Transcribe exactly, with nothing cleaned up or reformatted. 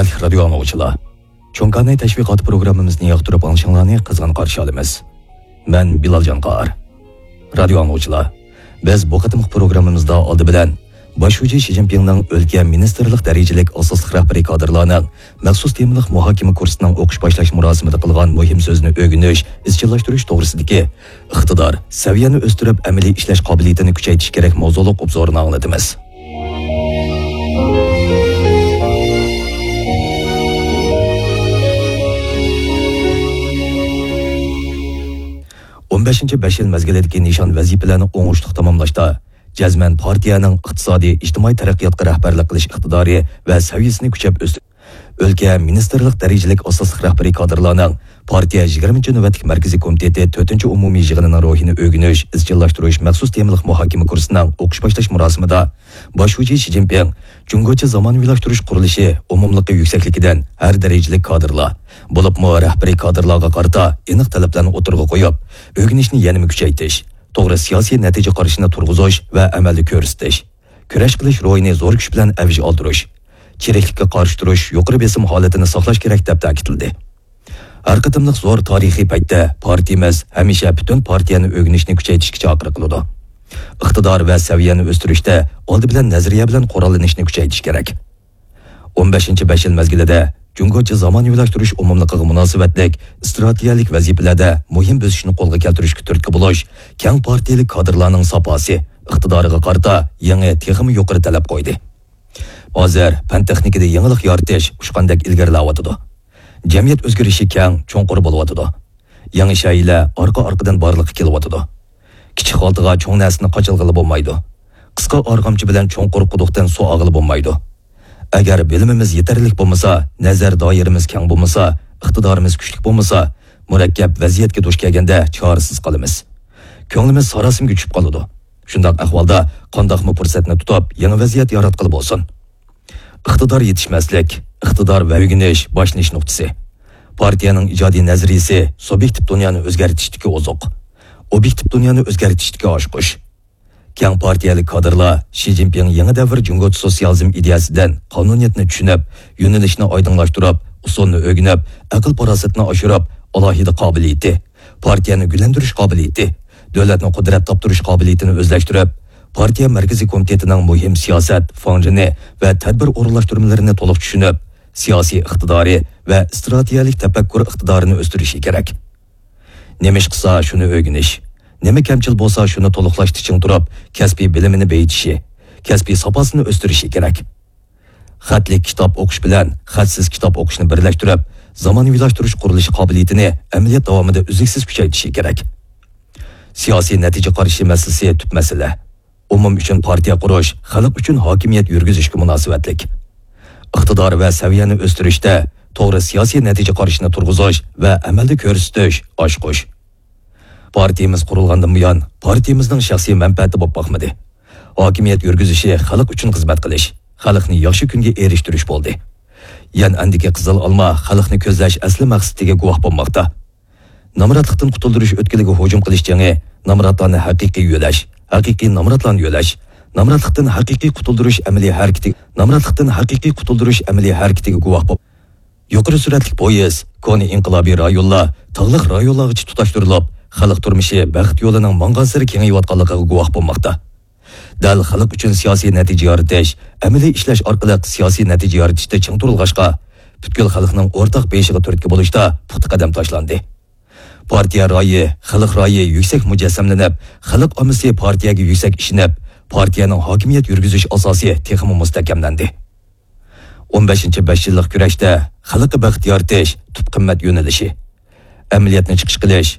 ھۆرمەتلىك رادىيو ئاڭلىغۇچىلار، چوڭ كاناي تەشۋىقاتى پروگراممىمىزنى ياقتۇرۇپ ئاڭلىشىڭلارنى قىزغىن قارشى ئالىمىز. مەن بىلال جانقار. رادىيو ئاڭلىغۇچىلار، بىز بۇ قېتىمقى پروگراممىمىزدا ئالدى بىلەن باش شۇجى شى جىنپىڭنىڭ ئۆلكە مىنىستىرلىق دەرىجىلىك ئاساسلىق رەھبىرىي كادىرلارنىڭ مەخسۇس تېمىلىق مۇھاكىمە كۇرسىنىڭ ئوقۇش باشلاش مۇراسىمىدا قىلغان مۇھىم سۆزىنى ئۆگىنىش، ئىزچىللاشتۇرۇش توغرىسىدىكى ئىقتىدار، سەۋىيەنى ئۆستۈرۈپ، ئەمەلىي ئىشلەش قابىلىيىتىنى كۈچەيتىش كېرەك ماۋزۇلۇق ئوبزورىنى ئاڭلىتىمىز. ئون بەشىنچى بەش يىل مەزگىلىدىكى نىشان ۋەزىپىلەرنى ئوڭۇشلۇق تاماملاشتا، جەزمەن پارتىيەنىڭ ئىقتىسادىي، ئىجتىمائىي تەرەققىياتقا رەھبەرلىك قىلىش ئىقتىدارى ۋە سەۋىيەسىنى كۈچەپ ئۆستۈرۈش، ئۆلكە مىنىستىرلىق دەرىجىلىك ئاساسلىق رەھبىرىي كادىرلارنىڭ پارتىيە يىگىرمىنچى نۆۋەتلىك مەركىزىي كومىتېتى تۆتىنچى ئومۇمىي يىغىنىنىڭ روھىنى ئۆگىنىش، ئىزچىللاشتۇرۇش مەخسۇس تېمىلىق مۇھاكىمە كۇرسىنىڭ ئوقۇش باشلاش مۇراسىمىدا باش شۇجى شى جىنپىڭ جۇڭگوچە زامانىۋىلاشتۇرۇش قۇرۇلۇشى ئومۇملۇقى يۈكسەكلىكىدىن ھەر دەرىجىلىك كادىرلار، بولۇپمۇ رەھبىرىي كادىرلارغا قارىتا ئېنىق تەلەپلەرنى ئوتتۇرىغا قويۇپ، ئۆگىنىشنى يەنىمۇ كۈچەيتىش، توغرا سىياسىي نەتىجە قارىشىنى تۇرغۇزۇش ۋە ئەمەلدە كۆرسىتىش، كۈرەش قىلىش روھىنى زور كۈچ بىلەن ئەۋج ئالدۇرۇش، چىرىكلىككە قارشى تۇرۇش، يۇقىرى بېسىم ھالىتىنى ساقلاش كېرەك، دەپ تەكىتلىدى. ھەر قېتىملىق زور تارىخىي پەيتتە پارتىيىمىز ھەمىشە پۈتۈن پارتىيەنى ئۆگىنىشنى كۈچەيتىشكە چاقىرىق قىلىدۇ. ئىقتىدار ۋە سەۋىيەنى ئۆستۈرۈشتە ئالدى بىلەن نەزەرىيە بىلەن قوراللىنىشنى كۈچەيتىش كېرەك. ئون بەشىنچى بەش يىل مەزگىلىدە جۇڭگوچە زامانىۋىلاشتۇرۇش ئومۇملۇقىغا مۇناسىۋەتلىك ئىستراتېگىيەلىك ۋەزىپىلەردە مۇھىم بۆسۈشنى قولغا كەلتۈرۈشكە تۈرتكە بولۇش، كەڭ پارتىيەلىك كادىرلارنىڭ ساپاسى، ئىقتىدارىغا قارىتا يېڭى، تېخىمۇ يۇقىرى تەلەپ قويدى. ھازىر پەن-تېخنىكىدا يېڭىلىق يارىتىش ئۇچقاندەك ئىلگىرىلەۋاتىدۇ. جەمئىيەت ئۆزگىرىشى كەڭ، چوڭقۇر بولۇۋاتىدۇ. يېڭى شەيئىلەر ئارقا-ئارقىدىن بارلىققا كېلىۋاتىدۇ. كىچىك خالتىغا چوڭ نەرسىنى قاچىلىغىلى بولمايدۇ. قىسقا ئارغامچا بىلەن چوڭقۇر قۇدۇقتىن سۇ ئالغىلى بولمايدۇ. ئەگەر بىلىمىمىز يېتەرلىك بولمىسا، نەزەر دائىرىمىز كەڭ بولمىسا، ئىقتىدارىمىز كۈچلۈك بولمىسا، مۇرەككەپ ۋەزىيەتكە دۇچ كەلگەندە چارىسىز قالىمىز. كۆڭلىمىز ساراسىمىگە چۈشۈپ قالىدۇ. شۇنداق ئەھۋالدا قانداقمۇ پۇرسەتنى تۇتۇپ، يېڭى ۋەزىيەت ياراتقىلى بولسۇن؟ ئىقتىدار يېتىشمەسلىك، ئىقتىدار ۋە ئۆگىنىش باشلىنىش نۇقتىسى. پارتىيەنىڭ ئىجادىي نەزەرىيىسى سۇبيېكتىپ دۇنيانى ئۆزگەرتىشتىكى ئوزۇق، ئوبيېكتىپ دۇنيانى ئۆزگەرتىشتىكى ئاچقۇچ. كەڭ پارتىيەلىك كادىرلار شى جىنپىڭ يېڭى دەۋر جۇڭگوچە سوتسىيالىزم ئىدىيەسىدىن قانۇنىيەتنى چۈشىنىپ، يۆنىلىشنى ئايدىڭلاشتۇرۇپ، ئۇسۇلنى ئۆگىنىپ، ئەقىل-پاراسىتىنى ئاشۇرۇپ، ئالاھىدە قابىلىيىتى، پارتىيەنى گۈللەندۈرۈش قابىلىيىتى، دۆلەتنى قۇدرەت تاپتۇرۇش قابىلىيىتىنى ئۆزلەشتۈرۈپ، پارتىيە مەركىزىي كومىتېتىنىڭ مۇھىم سىياسەت، فاڭجېنى ۋە تەدبىر ئورۇنلاشتۇرمىلىرىنى تولۇق چۈشىنىپ، سىياسىي ئىقتىدارى ۋە ئىستراتېگىيەلىك تەپەككۇر ئىقتىدارىنى ئۆستۈرۈشى كېرەك. نېمە ئىش قىلسا، شۇنى ئۆگىنىش، نېمە كەمچىل بولسا، شۇنى تولۇقلاشتا چىڭ تۇرۇپ، كەسپىي بىلىمىنى بېيىتىشى، كەسپىي ساپاسىنى ئۆستۈرۈشى كېرەك. خەتلىك كىتاب ئوقۇش بىلەن خەتسىز كىتاب ئوقۇشنى بىرلەشتۈرۈپ، زامانىۋىلاشتۇرۇش قۇرۇلۇشى قابىلىيىتىنى ئەمەلىيەت داۋامىدا ئۈزلۈكسىز كۈچەيتىشى كېرەك. سىياسىي نەتىجە قارىشى مەسىلىسى تۈپ مەسىلە. ئومۇم ئۈچۈن پارتىيە قۇرۇش خەلق ئۈچۈن ھاكىمىيەت يۈرگۈزۈشكە مۇناسىۋەتلىك. ئىقتىدار ۋە سەۋىيەنى ئۆستۈرۈشتە توغرا سىياسىي نەتىجە قارىشىنى تۇرغۇزۇش ۋە ئەمەلدە كۆرسىتىش ئاچقۇچ. پارتىيىمىز قۇرۇلغاندىن بۇيان، پارتىيىمىزنىڭ شەخسىي مەنپەئەتى بولۇپ باقمىدى. ھاكىمىيەت يۈرگۈزۈشى خەلق ئۈچۈن خىزمەت قىلىش، خەلقنى ياخشى كۈنگە ئېرىشتۈرۈش بولدى. يەنئەندىكى قىزىل ئالما خەلقنى كۆزلەش ئەسلى مەقسىتىگە گۇۋاھ بولماقتا. نامراتلىقتىن قۇتۇلدۇرۇش ئۆتكىلىگە ھۇجۇم قىلىش جېڭى نامراتلارنى ھەقىقىي يۆلەش، ھەقىقىي نامراتلارنى يۆلەش، نامراتلىقتىن ھەقىقىي قۇتۇلدۇرۇش ئەمەلىي ھەرىكىتى، نامراتلىقتىن ھەقىقىي قۇتۇلدۇرۇش ئەمەلىي ھەرىكىتىگە گۇۋاھ بول. يۇقىرى سۈرئەتلىك پويىز، كونا ئىنقىلابىي رايونلار تاغلىق رايونلارغىچە تۇتاشتۇرۇلۇپ، خەلق تۇرمۇشى بەخت يولىنىڭ ماڭغانسېرى كېڭىيىۋاتقانلىقىغا گۇۋاھ بولماقتا. دەل خەلق ئۈچۈن سىياسىي نەتىجە يارىتىش، ئەمەلىي ئىشلەش ئارقىلىق سىياسىي نەتىجە يارىتىشتا چىڭ تۇرۇلغاچقا، پۈتكۈل خەلقنىڭ ئورتاق بېيىشىغا تۈرتكە بولۇشتا پۇختا قەدەم تاشلاندى. پارتىيە رايى، خەلق رايى يۈكسەك مۇجەسسەملىنىپ، خەلق ئاممىسى پارتىيەگە يۈكسەك ئىشىنىپ، پارتىيەنىڭ ھاكىمىيەت يۈرگۈزۈش ئاساسى تېخىمۇ مۇستەھكەملەندى. ئون بەشىنچى بەش يىللىق كۈرەشتە خەلققە بەخت يارىتىش تۈپ قىممەت يۆنىلىشى. ئەمەلىيەتنى چىقىش قىلىش،